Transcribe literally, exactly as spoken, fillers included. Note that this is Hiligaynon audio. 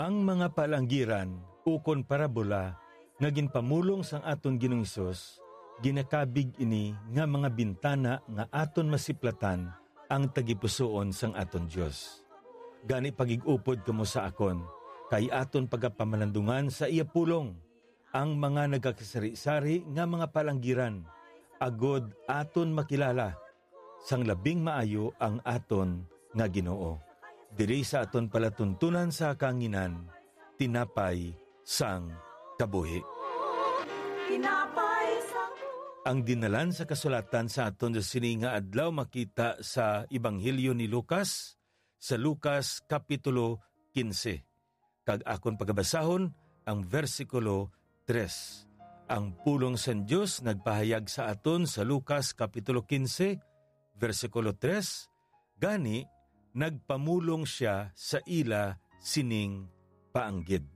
Ang mga palanggiran ukon parabola nga ginpamulong sang aton Ginoong Hesus, ginakabig ini nga mga bintana nga aton masiplatan ang tagipusoon sang aton Dios. Gani, pagig-upod kamo sa akon, kay aton pagapamalandungan sa iya pulong ang mga nagakasari-sari nga mga palanggiran, agod aton makilala sang labing maayo ang aton nga Ginoo. Diri sa aton palatuntunan sa kahanginan, tinapay sang kabuhi. Tinapay sa Ang dinalan sa kasulatan sa aton sa sini nga adlaw makita sa Ebanghelyo ni Lucas, sa Lucas Kapitulo quince. Kag akon pagabasahon ang bersikulo tres. Ang pulong sang Dios nagpahayag sa aton sa Lucas Kapitulo quince, bersikulo tres, gani, nagpamulong sia sa ila sining paanggid.